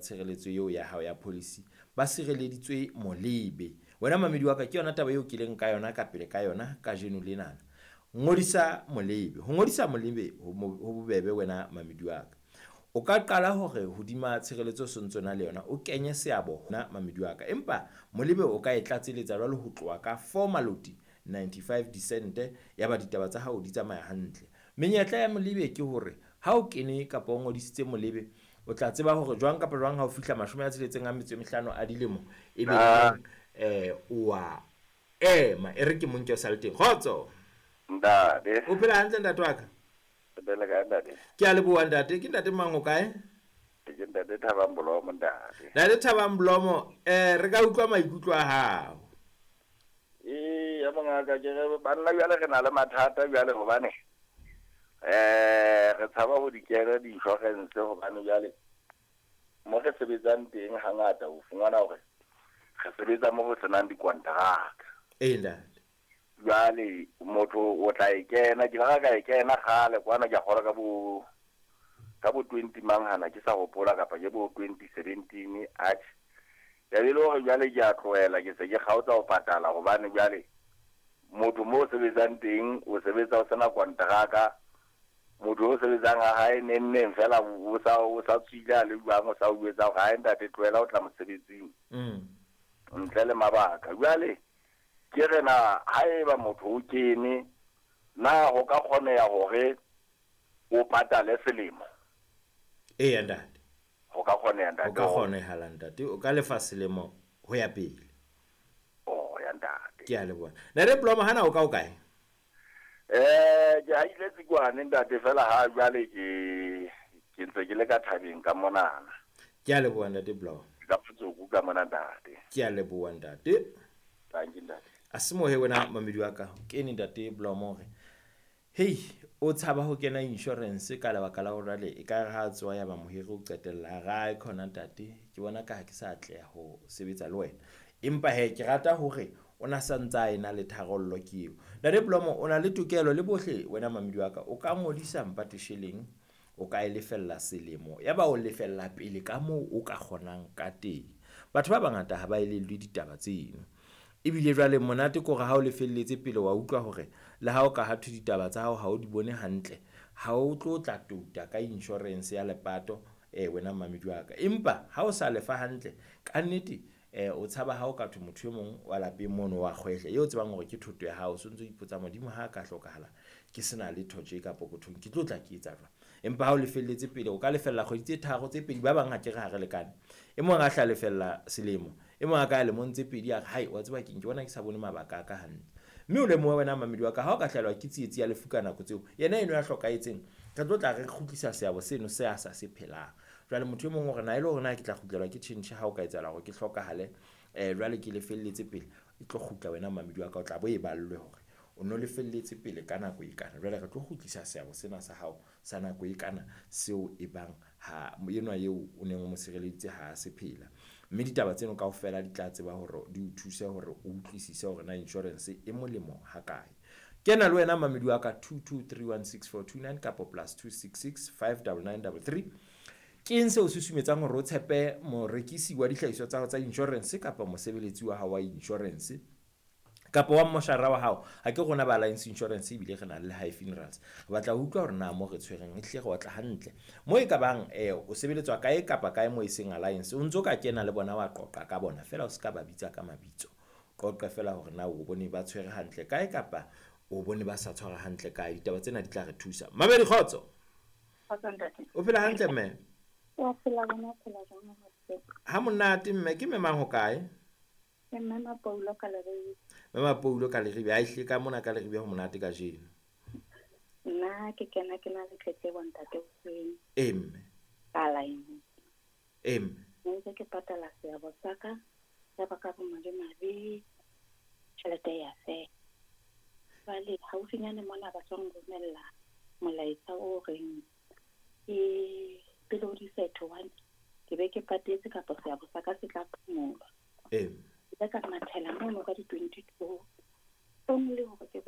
Tshireletso eo ya hao ya policy ba sireleditswe molebe. Wena mamedi wa ka, ke yona taba eo ke leng ka yona ka pele ka yona kajeno lenana. Ngodisa molebe, ho ngodisa molebe ho bobebe wena mamedi wa ka. O ka qala hore hodima tshireletso o sontso na le yona, o kenye seabo na mamedi wa ka. Empa molebe o ka e tlatseletsa jwalo ho tloha ka four maloti 95 disente, ya ba ditaba tsa hao di tsamaya hantle. Menyetla ya molebe ke hore ha o kene kapa o ngodisitse molebe, o tla tseba hore jwang kapa jwang ha o fihla 65 a dilemo, ebe o wa ema. E re ke monke o sa le teng. Kgotso. Ntate. O phela hantle ntate wa ka? Phela kae ntate? Ke a leboha ntate. Ke ntate mang o kae? Ke ntate Thabang Bolomo ntate. Ntate Thabang Bolomo, re ka utlwa maikutlo a hao. Ee, ya mongaka ke re banna jwale re na le mathata jwale hobane re tshaba ho di kena di-insurance hobane jwale mo re sebetsang teng hangata o fumana hore re sebetsa mo ho senang dikonteraka. Ee ntate. Jwale motho o tla e kena, ke la ka e kena kgale kwana, ke a kgolwa ka bo 20 manghana, ke sa hopola kapa ke bo 2017 atjhe. Ya be le hore jwale ke a tlohela, ke se ke kgaotsa ho patala hobane jwale motho mo o sebetsang teng o sebetsa o sena konteraka. Motho o sebetsang ha hae neng neng fela o sa tswile a le jwang, o sa o jwetsa hore hae ntate tlohela o tla mosebetsing ntle le mabaka. Jwale ke re na haeba motho o kene na ho ka kgoneha hore o patale selemo? Eya ntate. Ho ka kgoneha ntate? Ho ka kgonehala ntate, o ka lefa selemo ho ya pele. Oh ya ntate. Ke a leboha. Ntate Bloma, hana o ka o kae? Ke haile Tsikwane ntate, fela ha jwale ke ntse ke le ka thabeng ka monana. Ke a leboha ntate Bloma. Ka Matsoku ka mona ntate. Ke a leboha ntate. Thank you ntate. A se mohe wena mamedi wa ka, kene ntate Bloma hore hei o tshaba ho kena insurance ka lebaka la hore jwale e ka re ha a tsoha ya ba mohiri o qetella ra khona ntate, ke bona ka ha ke sa atleha ho sebetsa le wena. Empa hee ke rata hore o na sa ntsa a ena le tharollo ke eo. Ntate Bloma o na le tokelo le bohle wena mamedi wa ka, o ka ngodisa mpatesheleng, o ka e lefella selemo, ya ba o lefella pele ka moo o ka kgonang ka teng. Batho ba bangata ha ba elellwe ditaba tseno. Ebile jwale monate ke hore ha o lefelletse pele wa utlwa hore le ha o ka ha thwe ditaba tsa hao ha o di bone hantle, ha o tlo tla touta ka insurance ya lepato wena mamedi wa ka. Empa ha o sa lefa hantle, kannete o tshaba ha o ka thwe motho e mong wa lapeng mono wa kgwehla, eo tsebang hore ke thoto ya hao, o sontso o ipotsa Modimo ha ka hlokahala ke sena letho tje kapa ko thong ke tlo tla ke etsa jwang. Empa ha o lefelletse pele o ka lefella kgwedi tse tharo tse pedi, ba bang ha ke re ha re lekane. E mong a hla lefella selemo, e mong a ka ya lemong tse pedi a re hai wa tseba keng, ke bona ke sa bone mabaka a ka hantle. Mme o lemohe wena mamedi wa ka, ha o ka hlahelwa ke tsietsi ya lefu ka nako tseo, yena eno ya hlokahetseng re tlo tla re kgutlisa seabo seno se a sa se phelang. Jwale motho e mong o re na e le hore na ke tla kgutlelwa ke tjhentjhe ha o ka etsahala hore ke hlokahale, jwale ke lefelletse pele, e tlo kgutla wena mamedi wa ka, o tla bo e ballwe hore o no lefelletse pele ka nako e kana. Jwale re tlo kgutlisa seabo sena sa hao sa nako e kana seo e bang ha enwa eo o neng o mo sireleditse ha se phela. Mme ditaba tseno kaofela di tla tseba hore di o thuse hore o utlwisise hore na insurance e molemo ha kae. Kena le wena mamedi wa ka 22316429 kapa +266 59933. Ke eng seo susumetsang hore o tshepe morekisi wa dihlahiswa tsa hao tsa insurance kapa mosebeletsi wa hao wa insurance kapa wa mmoshara wa hao? Ha ke rona ba Alliance Insurance ebile re na le High Funerals. Re batla ho utlwa hore na mo re tshwereng e hlile re otla hantle. Mo e ka bang o sebeletswa kae kapa kae mo e seng Alliance, o ntso ka kena le bona wa qoqa ka bona feela, o se ka ba bitsa ka mabitso. Qoqe feela hore na o bone ba tshwere hantle kae kapa o bone ba sa tshwara hantle kae. Ditaba tsena di tla re thusa. Mamedi, kgotso. Kgotso ntate. O phela hantle mme? Wa phela, wena o phela jwang hoseng? Ha monate mme, ke mme mang ho kae? Ke mme Mapoulo ka Leribe. Mme Mapoulo ka Leribe, ha ehlile ka mona ka Leribe ho monate kajeno. Nna ke kena ke na le tletlebo ntate hoseng. Ee mme. Ka line. Ee mme. Ntse ke patala seabo sa ka, ya ba ka bomadimabe tjhelete ya fela. Jwale haufinyane mona ba tswa nromella molaetsa o reng ke pele ho di-31 ke be ke patetse kapa seabo sa ka se tla phumulwa. Ee. Ke ile ka mathela mono ka di-22 only hore ke